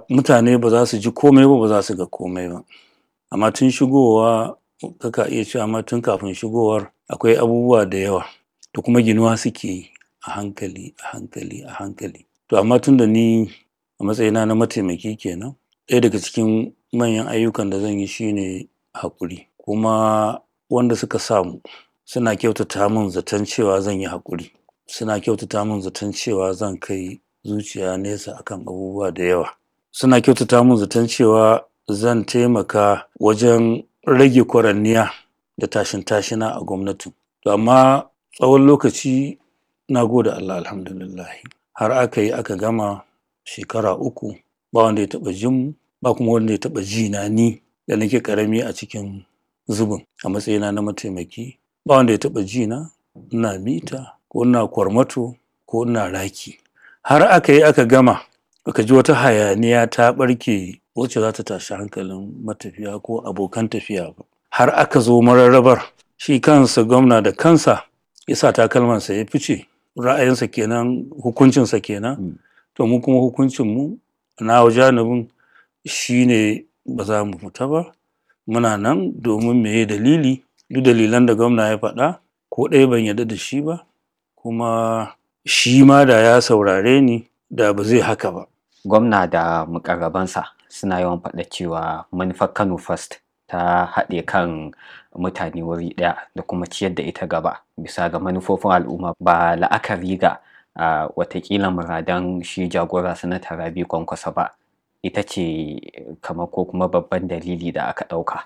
Mutane ba za su ji komai ba, ba za su ga komai ba. Amma tun shigowa kaka iya cewa ma tun kafin shigowar akwai abubuwa da yawa to kuma ginuwa suke yi a hankali, a hankali, a hankali. To amma tun da ni a matsayina na mataimaki kenan, ɗaya daga cikin manyan ayyukan da zan yi shine haƙuri. Kuma wanda suka samu suna kyautata min zaton cewa zan yi haƙuri. Suna kyautata min zaton cewa zan kai zuciya nesa akan abubuwa da yawa. Suna kyautata min zaton cewa zan taimaka wajen rage kwaranniya da tashin-tashina a gwamnatin. To amma tsawon lokaci na gode Allah alhamdulillahi. Har aka yi aka gama shekara 3 ba wanda ya taɓa jin mu, ba kuma wanda ya taɓa ji na ni da nake ƙarami a cikin zubin a matsayina na mataimaki. Ba wanda ya taɓa ji na ina mita ko ina kwarmato ko ina raki. Har aka yi aka gama baka ji wata hayaniya ta ɓarke wacce za ta tashi hankalin matafiya ko abokan tafiya ba. Har aka zo mararrabar shi kansa gwamna da kansa ya sa takalmansa ya fice. Ra'ayinsa kenan, hukuncinsa kenan. To mu kuma hukuncinmu nawa janibin shine ba za mu fita ba. Muna nan domin meye dalili? Duk dalilan da gwamna ya faɗa ko ɗaya ban yarda da shi ba. Kuma shi ma da ya saurare ni da ba zai haka ba. Gwamna da muƙarrabansa suna yawan faɗa cewa manufar Kano First ta haɗe kan mutane wuri ɗaya da kuma ciyar da ita gaba bisa ga manufofin al'umma ba la'akari ga watakila muradan shi jagora Sanata Rabi'u Kwankwaso ba. Ita ce kamar ko kuma babban dalili da aka ɗauka.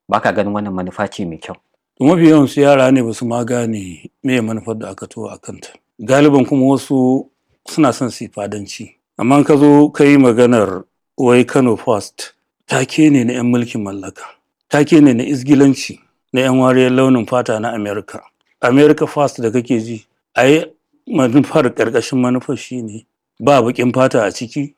Ba ka ganin wannan manufa ce mai kyau? Mafi yawansu yara ne ba su ma gane meye manufar da aka taho a kanta. Galiban kuma wasu suna son su yi fadanci. Amma in ka zo ka yi maganar wai Kano First, take ne na 'yan mulkin mallaka. Take ne na izgilanci na 'yan wariyar launin fata na America. America First da kake ji, ai manufar ƙarƙashin manufar shine ba baƙin fata a ciki.